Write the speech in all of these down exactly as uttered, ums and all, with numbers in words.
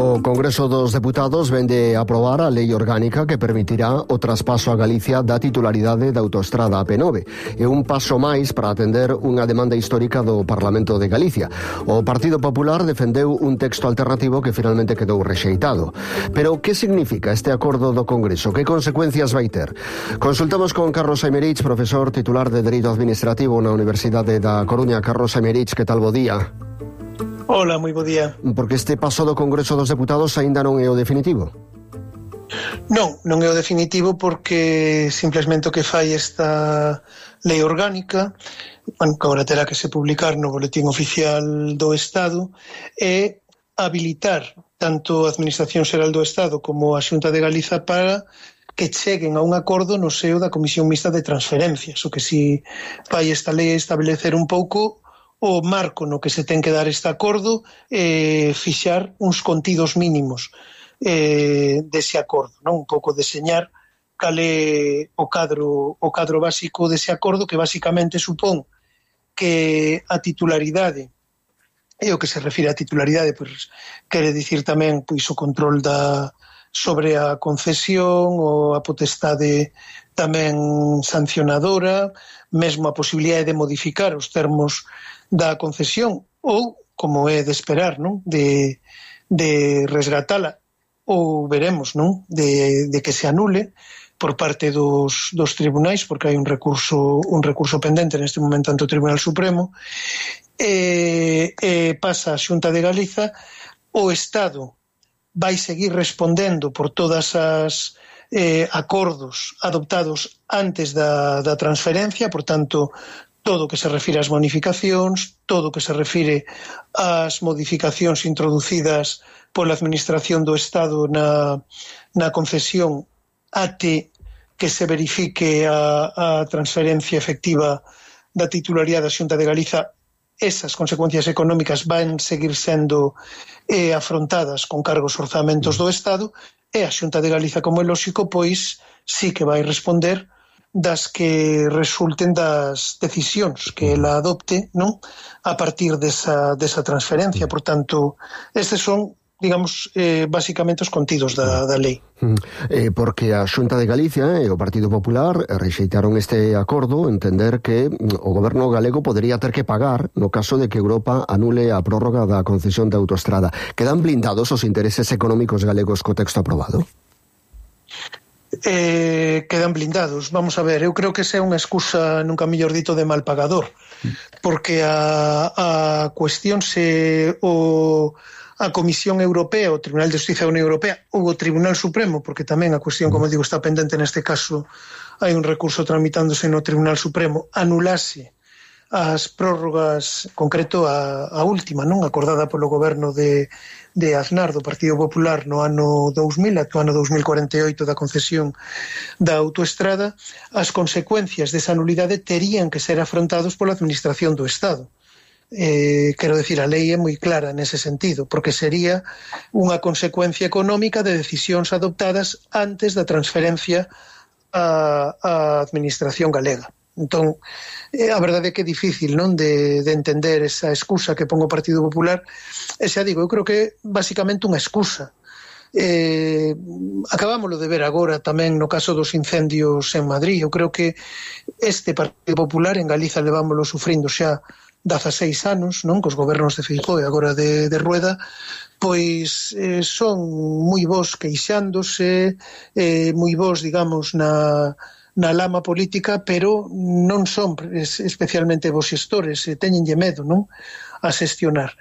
O Congreso dos Deputados vende aprobar a lei orgánica que permitirá o traspaso a Galicia da titularidade da autoestrada A P nove. É un paso máis para atender unha demanda histórica do Parlamento de Galicia. O Partido Popular defendeu un texto alternativo que finalmente quedou rexeitado. Pero que significa este acordo do Congreso? Que consecuencias vai ter? Consultamos con Carlos Aymerich, profesor titular de Dereito Administrativo na Universidade da Coruña. Carlos Aymerich, que tal, bo día? Hola, moi bo día. Porque este paso do Congreso dos Deputados aínda non é o definitivo? Non, non é o definitivo porque simplesmente o que fai esta lei orgánica, bueno, que agora terá que se publicar no Boletín Oficial do Estado, é habilitar tanto a Administración Xeral do Estado como a Xunta de Galiza para que cheguen a un acordo no seo da Comisión Mixta de Transferencias. O que si vai esta lei establecer un pouco o marco no que se ten que dar este acordo, eh, fixar uns contidos mínimos eh, dese acordo, non? Un pouco deseñar cal é o cadro, o cadro básico dese acordo, que basicamente supón que a titularidade, e o que se refire a titularidade, pois, quere dicir tamén pois, o control da, sobre a concesión ou a potestade tamén sancionadora, mesmo a posibilidade de modificar os termos da concesión ou, como é de esperar, non? De, de resgatala ou veremos, non? De, de que se anule por parte dos, dos tribunais, porque hai un recurso un recurso pendente neste momento ante o Tribunal Supremo, e, e pasa a Xunta de Galiza. O Estado vai seguir respondendo por todas as eh, acordos adoptados antes da, da transferencia, por tanto, todo o que se refire ás bonificacións, todo o que se refire ás modificacións introducidas pola Administración do Estado na, na concesión até que se verifique a, a transferencia efectiva da titularidade da Xunta de Galiza. Esas consecuencias económicas van seguir sendo eh, afrontadas con cargos orzamentos do Estado, e a Xunta de Galiza, como é lóxico, pois sí que vai responder das que resulten das decisións que ela adopte, non? A partir desa, desa transferencia. Por tanto, estes son, digamos, eh, basicamente os contidos da, da lei. Eh, porque a Xunta de Galicia e o Partido Popular rexeitaron este acordo, entender que o goberno galego podería ter que pagar no caso de que Europa anule a prórroga da concesión da autoestrada. Quedan blindados os intereses económicos galegos co texto aprobado? Eh, quedan blindados. Vamos a ver, eu creo que esa é unha excusa, nunca mellor dito, de mal pagador, porque a, a cuestión se o a Comisión Europea, o Tribunal de Justicia da Unión Europea ou o Tribunal Supremo, porque tamén a cuestión, como digo, está pendente neste caso, hai un recurso tramitándose no Tribunal Supremo, anulase as prórrogas, concreto a, a última, non acordada polo goberno de, de Aznar, do Partido Popular, no ano dous mil, até o ano dous mil cuarenta e oito da concesión da autoestrada, as consecuencias desa nulidade terían que ser afrontados pola Administración do Estado. Eh, quero decir, a lei é moi clara nese sentido, porque sería unha consecuencia económica de decisións adoptadas antes da transferencia á, á Administración galega. Entón, eh, a verdade é que é difícil, non, de, de entender esa excusa que pon o Partido Popular, e xa digo, eu creo que é basicamente unha excusa. Eh, acabámoslo de ver agora tamén no caso dos incendios en Madrid. Eu creo que este Partido Popular en Galiza levámoslo sufrindo xa dezaseis anos, non, cos gobernos de Feijóo e agora de, de Rueda, pois eh, son moi bons queixándose, eh, moi bons, digamos, na na lama política, pero non son especialmente bons xestores, e teñenlle medo, non, a xestionar.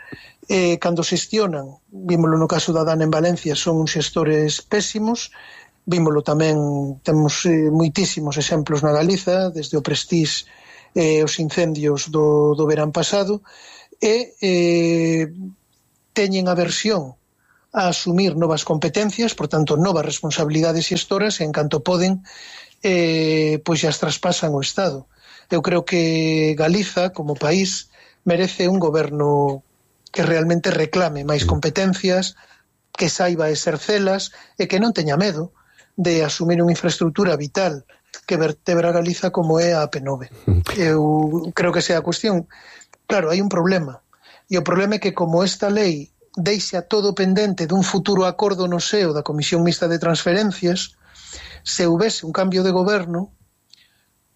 Eh, cando xestionan, vímolo no caso da Dana en Valencia, son uns xestores pésimos, vímolo tamén, temos eh, moitísimos exemplos na Galiza, desde o Prestige e eh, os incendios do, do verán pasado, e eh, teñen aversión a asumir novas competencias, por tanto, novas responsabilidades xestoras, e en canto poden, Eh, pois as traspasan o Estado. Eu creo que Galiza, como país, merece un goberno que realmente reclame máis competencias, que saiba exercelas e que non teña medo de asumir unha infraestructura vital que vertebra Galiza como é a A P nove. Eu creo que esa é a cuestión. Claro, hai un problema, e o problema é que como esta lei deixa todo pendente dun futuro acordo no seo da Comisión Mixta de Transferencias. Se houvese un cambio de goberno,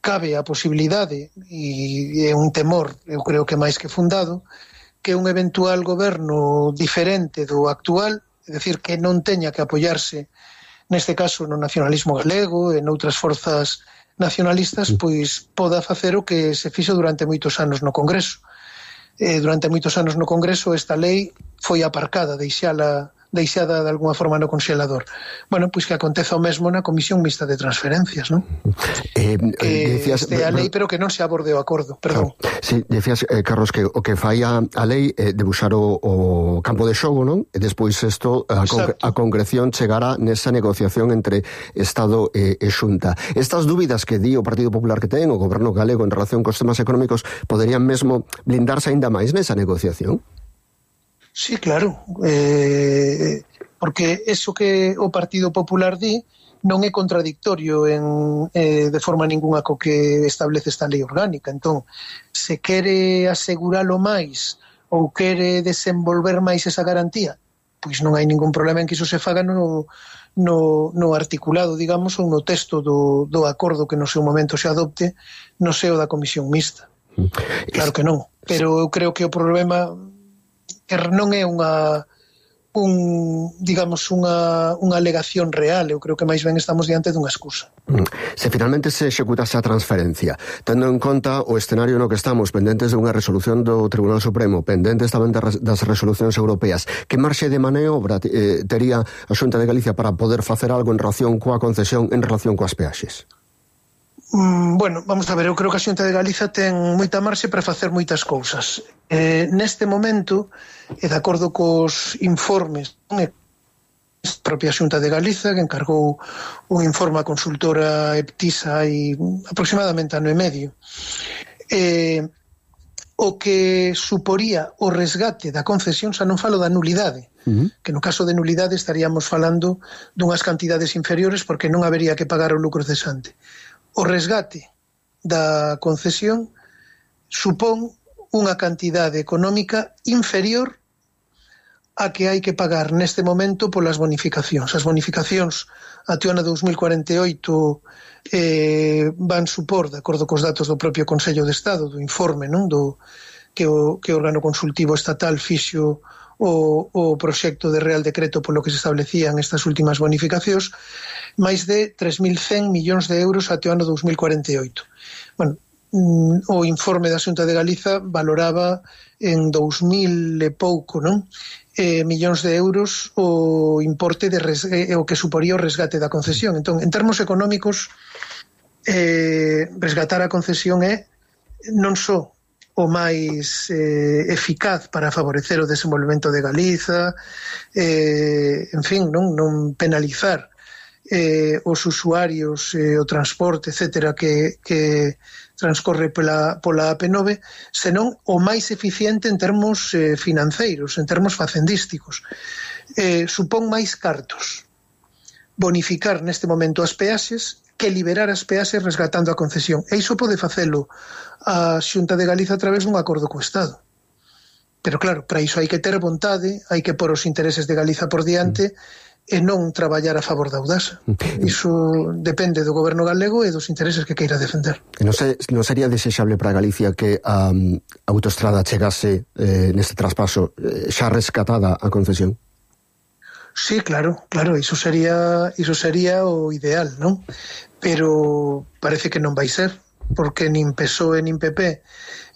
cabe a posibilidade, e é un temor, eu creo que máis que fundado, que un eventual goberno diferente do actual, é dicir, que non teña que apoiarse, neste caso, no nacionalismo galego e noutras forzas nacionalistas, pois poda facer o que se fixo durante moitos anos no Congreso. Eh, durante moitos anos no Congreso esta lei foi aparcada, deixala deixada de alguna forma no congelador. Bueno, pois que aconteza o mesmo na Comisión Mixta de Transferencias, non? Eh, que decías, este a lei, pero que non se aborde o acordo, perdón. Claro. Sí, decías, eh, Carlos, que o que fai a, a lei é eh, debuxar o, o campo de xogo, non? E despois isto, a, con, a concreción chegará nesa negociación entre Estado e, e Xunta. Estas dúbidas que di o Partido Popular que ten o goberno galego en relación cos temas económicos poderían mesmo blindarse aínda máis nesa negociación? Sí, claro, eh, porque eso que o Partido Popular di non é contradictorio en, eh, de forma ninguna co que establece esta lei orgánica. Entón, se quere aseguralo máis ou quere desenvolver máis esa garantía, pois non hai ningún problema en que iso se faga no, no, no articulado, digamos, ou no texto do, do acordo que no seu momento se adopte no seo da Comisión Mixta. Claro que non, pero eu creo que o problema que non é unha un, digamos, unha, unha alegación real. Eu creo que máis ben estamos diante dunha excusa. Se finalmente se executase a transferencia, tendo en conta o escenario no que estamos, pendentes de unha resolución do Tribunal Supremo, pendentes tamén das resolucións europeas, que marxe de maniobra eh, tería a Xunta de Galicia para poder facer algo en relación coa concesión, en relación coas peaxes? Mm, bueno, vamos a ver, eu creo que a Xunta de Galiza ten moita marxe para facer moitas cousas. Eh, neste momento, e de acordo cos informes, a propia Xunta de Galiza, que encargou un informe a consultora Eptisa hai aproximadamente ano e medio, eh, o que suporía o resgate da concesión, xa non falo da nulidade, uh-huh. que no caso de nulidade estaríamos falando dunhas cantidades inferiores porque non habería que pagar o lucro cesante. O resgate da concesión supón unha cantidade económica inferior a que hai que pagar neste momento polas bonificacións. As bonificacións até o ano dous mil cuarenta e oito eh, van supor, de acordo cos datos do propio Consello de Estado, do informe, non, do que o, que o órgano consultivo estatal fixo o, o proxecto de Real Decreto polo que se establecían estas últimas bonificacións, máis de tres mil cen millóns de euros até o ano dous mil cuarenta e oito. Bueno, o informe da Xunta de Galiza valoraba en dous mil e pouco, non? Eh, millóns de euros o importe de res, eh, o que suporía o resgate da concesión. Entón, en termos económicos, eh, resgatar a concesión é non só o máis eh, eficaz para favorecer o desenvolvemento de Galiza, eh, en fin, non, non penalizar eh, os usuarios, eh, o transporte, etcétera, que, que transcorre pola, pola A P nove, senón o máis eficiente en termos eh, financeiros, en termos facendísticos. Eh, supón máis cartos bonificar neste momento as peaxes que liberar as peaxes resgatando a concesión. E iso pode facelo a Xunta de Galiza a través dun acordo co Estado. Pero claro, para iso hai que ter vontade, hai que pôr os intereses de Galiza por diante e non traballar a favor da Audasa. Iso depende do goberno galego e dos intereses que queira defender. Non, se, non sería desexable para Galicia que a um, autoestrada chegase eh, neste traspaso eh, xa rescatada a concesión? Sí, claro, claro, iso sería iso sería o ideal, non? Pero parece que non vai ser, porque nin P S O E nin P P,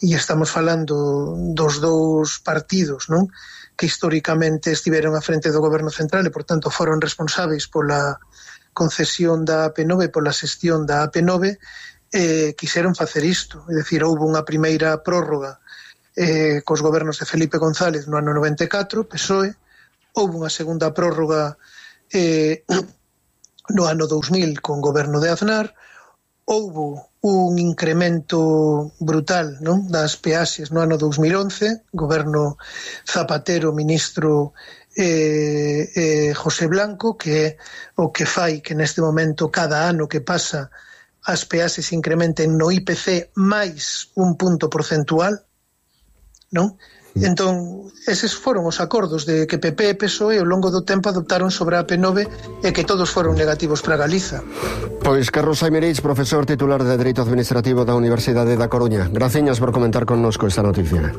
e estamos falando dos dous partidos, non? Que históricamente estiveron a frente do goberno central e, por tanto, foron responsáveis pola concesión da A P nove, pola xestión da A P nove, eh, quixeron facer isto. É dicir, houve unha primeira prórroga eh, cos gobernos de Felipe González no ano noventa e catro, P S O E, houve unha segunda prórroga eh, no ano dous mil con goberno de Aznar, houve un incremento brutal, non, das peaxes no ano dous mil once, goberno Zapatero, ministro eh, eh, José Blanco, que é o que fai que neste momento cada ano que pasa as peaxes incrementen no I P C máis un punto porcentual, non? Entón, eses foron os acordos de que P P e P S O E ao longo do tempo adoptaron sobre a P nove e que todos foron negativos para Galiza. Pois Carlos Aymerich, profesor titular de Dereito Administrativo da Universidade da Coruña. Graciñas por comentar connosco esta noticia.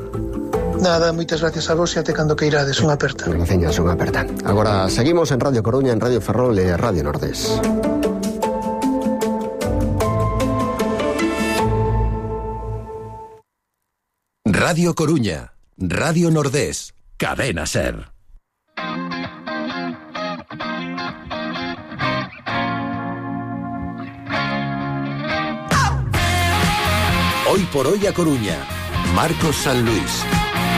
Nada, moitas gracias a vos e até cando que irades, unha aperta. Graciñas, unha aperta. Agora seguimos en Radio Coruña, en Radio Ferrol e Radio Nordés. Radio Coruña, Radio Nordés, Cadena Ser. Hoy por hoy a Coruña, Marcos San Luis.